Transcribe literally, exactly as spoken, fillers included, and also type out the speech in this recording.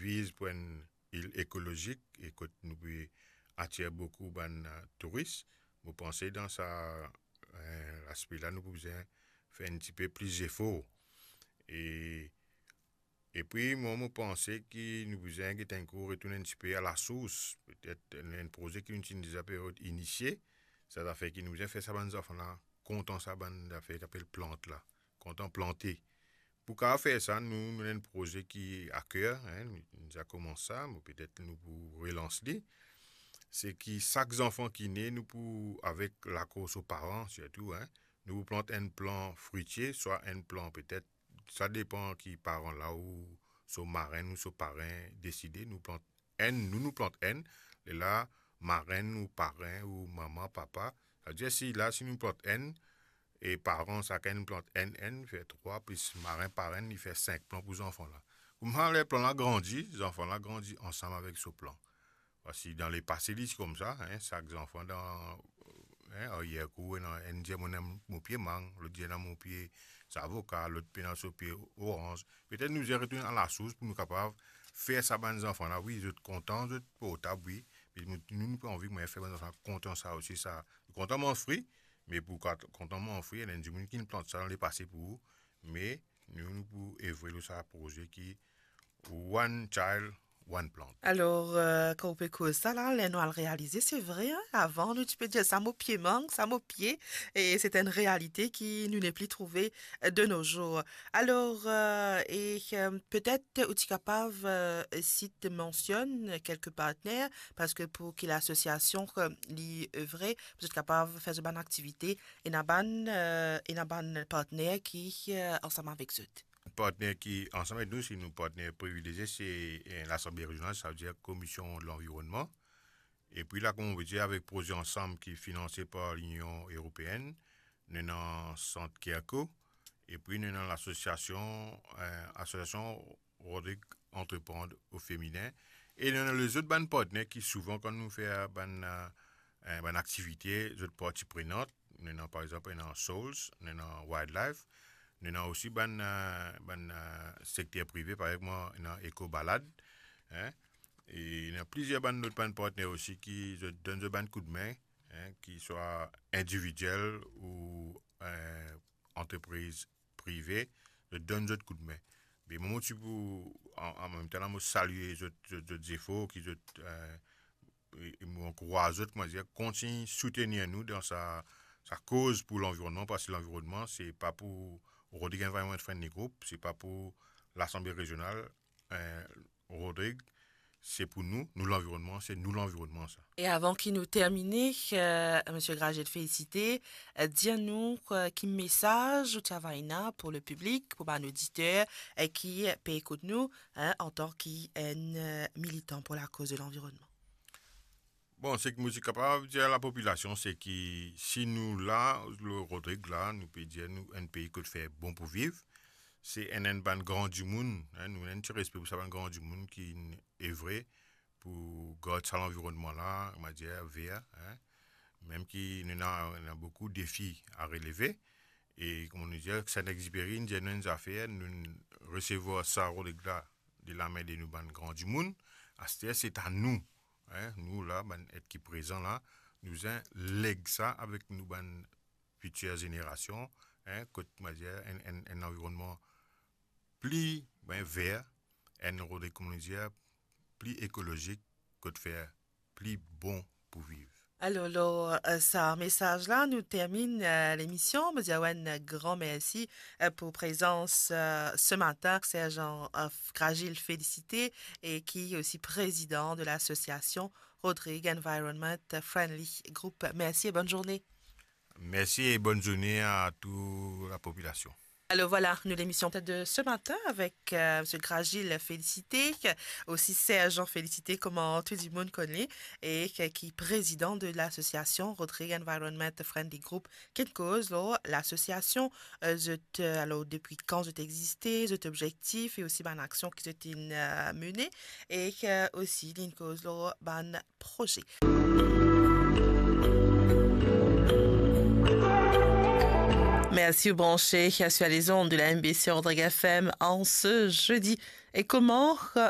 viz pou enn il ekolozik e kot nou pe atir boukou bann, eh, touris. Mo panse dan sa, eh, laspe la, nou pou bizin fer enn tipe pli zefor. E, epi, mwa, mo panse ki nou bizin get enn kou retourn enn tipe a lasours. Petet enn, enn proze ki nou ti deza pe inisie, sa zafer ki nou bizin fer sa bann zanfan la kontan sa bann zafer ki apel plant la, kontan plante. Pou kapav fer sa, nou, nou ena enn proze ki a ker, hein, nou, nou deza koumans sa, me petet nou pou relans li. Se ki sak zanfan ki ne, nou pou, avek lakor so paran sirtou, hein, nou pou plant enn plan fritie, swa enn plan petet, sa depan ki paran la ou so marenn ou so paren deside, nou plant enn, nou, nou plant enn, lerla marenn ou paren ou mama, papa. Savedir si la, si nou plant enn, e paran sakenn plant enn, enn, fer trwa, plis marenn, parenn, li fer sink plan pou zanfan la. Kouma ler plan la grandi, zanfan la grandi ansam avek so plan. Parski dan lepase, li ti koumsa, hein, sak zanfan dan, hein, aryer kour, ena enn dir mo ena mo pie mang, lot dir ena mo pie zavoka, lot pena so pie oranz. Petet nou bizin retourn a lasours pou nou kapav fer sa bann zanfan la, wi, zot kontan, zot portab, wi, me nou, nou, nou pe anvi mwayin fer bann zanfan kontan sa osi, sa. Kontan manz fri, me pou kat-, kontan manz fri, ena dimoun ki finn plant sa dan lepase pou ou, me nou, nou pou evre lor sa proze ki One Child, One Plant. Alor, eh, kan ou pe koz sa la, ler nou al realize, se vre, hein, avan nou ti pe dir sa mo pie mang, sa mo pie, e se enn realite ki nou nepli trouve, eh, de nos jours. Alor, eh, e, eh, petet ou ti kapav, eh, sit, mansionn kelke partner, parski pou ki lasosiasion, eh, li evre, pou zot kapav fer zot bann aktivite, ena bann, eh, ena bann partner ki, eh, ansam avek zot. Partner ki ansam avek nou, se nou partner privilezie, se, eh, Lasanble Rezional, savedir Komision Lanvironnman. Epi la, kouma mo pe dir, avek proze ansam ki finanse par Linion Eropeenn, nou ena Sant Kirko, epi nou ena lasosiasion, eh, Asosiasion Rodrig Entreprendre au Féminin, e nou ena lezot bann partner ki souvan kan nou fer bann, eh, eh, bann aktivite, zot parti prenant, nou ena, par exanp, ena Souls, nou ena Wildlife, nou ena osi bann, eh, bann, eh, sekter prive, par exanp, ena Eco Balade, hein, e ena plizier bann lot bann partner osi ki zot donn zot bann koudme, hein, ki swa individiel ou, eh, antrepriz prive, zot donn zot koudme. Me mo, mo ti pou, an, an mem tan la, mo salie zot, zot, zot zefor ki zot, eh, e, e mo ankouraz zot, mo dir, kontign soutenir nou dan sa, sa koz pou lanvironnman, parski lanvironnman, se pa pou Rodrig Environment Friendly Group, se pa pou Lasanble Rezional, eh, Rodrig, se pou nou, nou lanvironnman, se nou lanvironnman sa. E avan ki nou termine, eh, Misie Gragil Félicité, eh, dir nou, eh, ki mesaz ou ti ava ena pou le piblik, pou bann oditer, eh, ki pe ekout nou, hein, antan ki enn, eh, militan pou lakoz de lanvironnman. Bon, seki mo ti kapav dir lapopilasion, se ki si nou la, lor Rodrig la, nou pe dir nou enn pei kot fer bon pou viv, se enn, enn bann gran dimoun, hein, nou ena enn ti respe pou sa bann gran dimoun ki evre pou gard sa lanvironnman la, mo dir, ver, hein. Mem ki nou ena, ena boukou defi a releve, e kouma nou dir, Saint-Exupéry, nou dir nou enn zafer, nou resevwar sa Rodrig la de lame de nou bann gran dimoun, aster se ta nou, hein, nou la, bann et ki prezan la, nou bizin leg sa avek nou bann fitir zenerasion, hein, kot, mo dir, enn, enn, enn lanvironnman pli, ben, ver, enn Rodrig, kouma nou dir, pli ekolozik, kot fer pli bon pou viv. Alor, lor, eh, sa mesaz la, nou termine, eh, lemision. Mo dir awa enn gran mersi, eh, pou prezans, eh, se matin, Sergent, eh, Gragil Félicité, e ki osi prezidan de lasosiasion Rodrig Environment Friendly Group. Mersi e bonn zourne. Mersi e bonn zourne a tou lapopilasion. Alor vwala, nou lemision de se matin avek, eh, Misie Gragil Félicité, osi Sergent Félicité, kouma tou dimoun konn li, e ki, ki prezidan de lasosiasion Rodrig Environment Friendly Group, ki koz lor lasosiasion, eh, zot, eh, alor depi kan zot existe, zot obzektif e osi bann aksion ki zot inn, eh, mene, e, eh, osi li inn koz lor bann proze. Merci ou branche sur les ondes de la M B C Rodrig F M en ce jeudi. Et comment, euh,